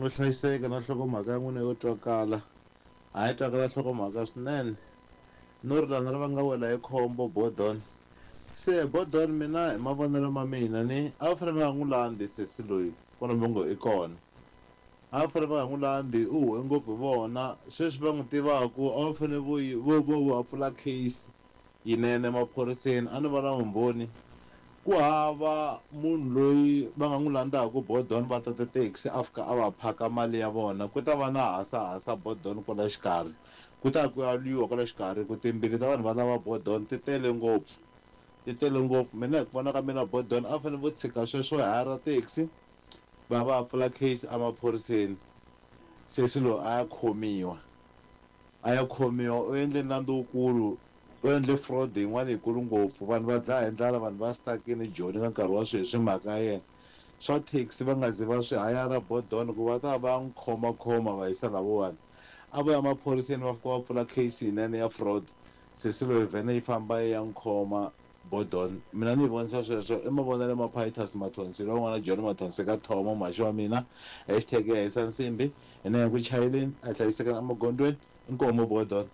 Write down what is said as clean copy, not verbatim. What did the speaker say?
no hlayiseka na nhlokomhaka ya n'wina yo twakala. A yi twakala nhlokomhaka swinene. No ri lana ri va nga wela hi khombo Bodon. Se Bodon mina hi mavonelo ma mina ni a va fanele va nga n'wi landzi sesi loyi kwalomu va ngo i kona. A va fanele va nga n'wi landzi u huhe ngopfu hi vona sweswi va n'wi tivaku a va fanele vo yi vo vo va pfula case yinene emaphoriseni a no va na vumbhoni ku hava munhu loyi va nga n'wi landzaku Bodon va tata taxi a fika a va phaka mali ya vona ku ta va na hasahasa Bodon kwala xikarhi ku ta ku ya lwiwa kwala xikarhi ku timbili ta vanhu va lava Bodon ti tele ngopfu ti tele ngopfu mina hi ku vona ka mina Bodon a fanele vo tshika sweswo hayara taxi va va pfula case emaphoriseni sesi loyi a ya khomiwa a ya khomiwa u endle nandzu wukulu u endle fraud yin'wana yikulu ngopfu vanhu va dlaya hi ndlala vanhu va stuck-ini Joni ka nkarhi wa sweswi mhaka ya yena swa taxi va nga zi va swi hayara Bodon ku va ta va n'wi khomakhoma va yisa lavowani a vo ya maphoriseni va fika va pfula case yinene ya fraud sesi loyi vhene yi famba yi ya n'wi khoma Bodon mina ni yi vonisa sweswo i mavonelo ma Pitus Mathonsi lowun'wana John Mathonsi ka Thomo mhaxi wa mina hashtag ya hisa nsimbi hina hi ku chayeleni a hi hlayisekeni emagondzweni inkomu Bodon.